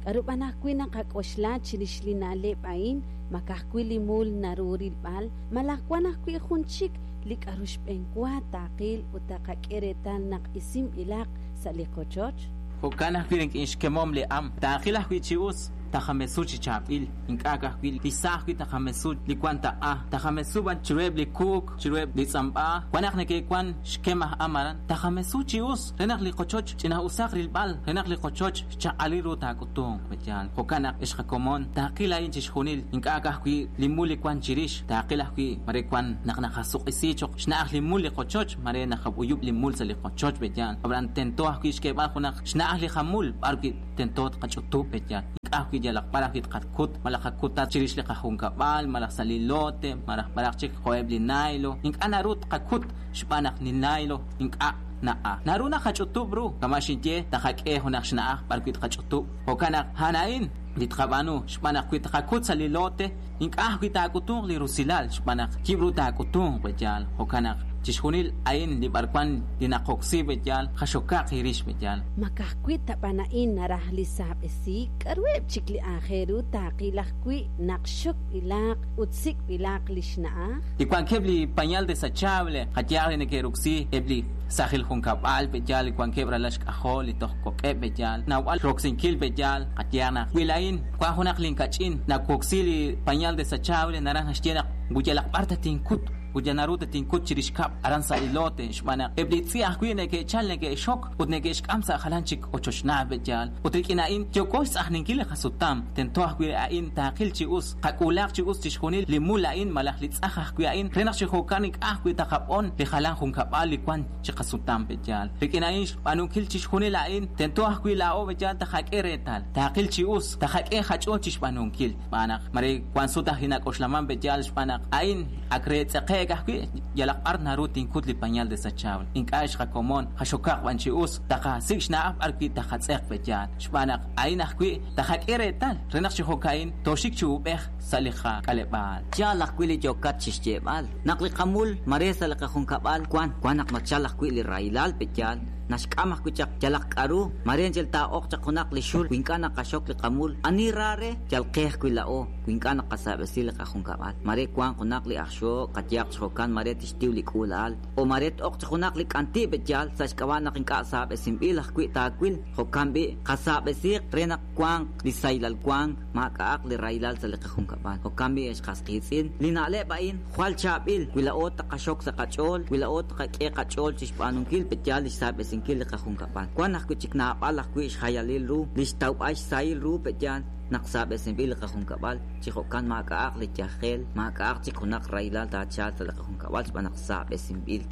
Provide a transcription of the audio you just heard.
K'aru b'an ajwi' naqak'oxla chirix li na'leb' a'in? Ma ka'ajwi' li mul naru rilb'al, malaj wan ajwi' jun chik li k'aru xb'enwa taqil ut taqak'e reetal naq isinb'ilaq sa' li qochoch? Jo'kan ajwi' rik'in xkemom li am, taaqil ajwi' chi us, taqamesu chi chaab'il, ink'a' ka'ajwi' li sa' ajwi' taqamesu li wan taq'a, taqamesu b'an chiruheb' li kuuk, chiruheb' li tz'amb'a, wan naq neke'wan xkem aj am aran, taqamesu chi us re naq li qochoch ch'ina'usaq rilb'al, re naq li qochoch xchaq'alil ru taak'utunq, pe'yaal. Jo'kan naq, ex qakomon, taaqil a'in chixjunil, ink'a' ka'ajwi' li mul li wan chirix, taaqil ajwi' mare wan naq naqasuq'isi cho'q xna'aj li mul li qochoch, mare naqab'uyub' li mul sa' li qochoch, pe'yaal. Ab'anan tento ajwi' xk'eeb'al junaq xna'aj li qamul b'ar wi' tento tqach'utub', pe'yaal. Ink'a' ajwi' yalaq b'ar ajwi' tqakut, malaj qakutat chirix li qajunkab'al, malaj sa' li lote, malaj b'araq chik jo'eb' li naylo. Ink'a' naru tqakut xb'aan naq li naylo ink'a' na'a. Naru naqach'utub' ru, kama' xinye, taqak'e junaq xna'aj b'ar wi' tqach'utub'. Jo'kan naq a'an a'in li tqab'aanu, xb'aan naq wi tqakut sa' li lote, ink'a' ajwi' taak'utunq li rusilal, xb'aan naq yib' ru taak'utunq, pe'yaal. Jo'kan naq chixjunil a'in li b'arwan li naqoksi, pe'yaal, qaxokaq eerix, pe'yaal. Ma ka'ajwi' ta b'an a'in naraj li saab'esiik? K'aruheb' chik li aajel ru taaqil ajwi' naq xokb'ilaq ut sik'b'ilaq li xna'aj? Li wankeb' li pañal desechable, qayehaq li neke'roksi eb' li saajil junkab'al, pe'yaal, li wankeb' ralal xk'ajol li toj kok'eb', pe'yaal, nawb'al roksinkil, pe'yaal, qayehaq naq wi laa'in wank junaq linkach'in nawoksi li pañal desechable, naraj naxye naq wi yalaq b'ar tatinkut, ut yal naru tatinkut chirix kab'l aran sa' li lote, xb'aan naq eb' li tz'i' ajwi' neke'chal neke'xok ut neke'xk'am sa' jalan chik ochochnaal, pe'yaal. Ut rik'in a'in yooko xtz'ajninkil li qasutam, tento ajwi' a'in taaqil chi us, qak'uulaaq chi us chixjunil li mul a'in malaj li tz'aj ajwi' a'in, re naq chi jo'kan ink'a' ajwi' taqab'on li jalan junkab'al li wan chi qasutam, pe'yaal. Rik'in a'in xb'aanunkil chixjunil a'in, tento ajwi' laa'o, pe'yaal, taqak'e reetal, taaqil chi us, taqak'e qach'ool chixb'aanunkil, xb'aan naq mare wan sut ajwi' nak'oxlaman, pe'yaal, xb'aan naq a'in ak re tz'eqe'k ajwi', yalaq b'ar naru tinkut li pañal desechable. Ink'a' ex qakomon, qaxokaq b'an chi us, taqasik' xna'aj b'ar wi' taqatz'eq, pe'yaal, xb'aan naq a'in ajwi' taqak'e reetal, re naq chi jo'ka'in tooxik chi uub'ej sa' li qak'aleb'aal. Yaal ajwi' li yookat chi xyeeb'al, naq li qamul mare sa' li qajunkab'al wan, wan naq nachal ajwi' li rahilal, pe'yaal, naxk'am ajwi' chaq yalaq k'aru, mare anchal taa'oq chaq junaq li xul wi ink'a' naqaxok li qamul, ani ra re, yal qe ajwi' laa'o, wi ink'a' naqasaab'esi li qajunkab'al, mare wanq junaq li aj xojk, qayehaq chi jo'kan mare tixtiw li k'uula'al, o mare t-oq chaq junaq li k'anti' pe'yaal sa' xk'ab'a' naq ink'a' saab'esinb'il ajwi' taawil, jo'kan b'i', qasaab'esiiq re naq wanq li sahilal wank, maak'a'aq li rahilal sa' li qajunkab'al. Jo'kan b'i' ex qas qiitz'in, li na'leb' a'in jwal chaab'il wi laa'o taqaxok sa' qach'ool, wi laa'o taqak'e qach'ool chixb'aanunkil pe'yaal li xsaab'esinkil li qajunkab'al. Wan ajwi' chik naab'al ajwi' xjayalil ru li xtawb'al xsahil ru pe'yaal naq saab'esinb'il li qajunkab'al, chi jo'kan maak'a'aq li yajel, maak'a'aq chik junaq rahilal taachalq sa' li qajunkab'al xb'aan naq saab'esinb'il.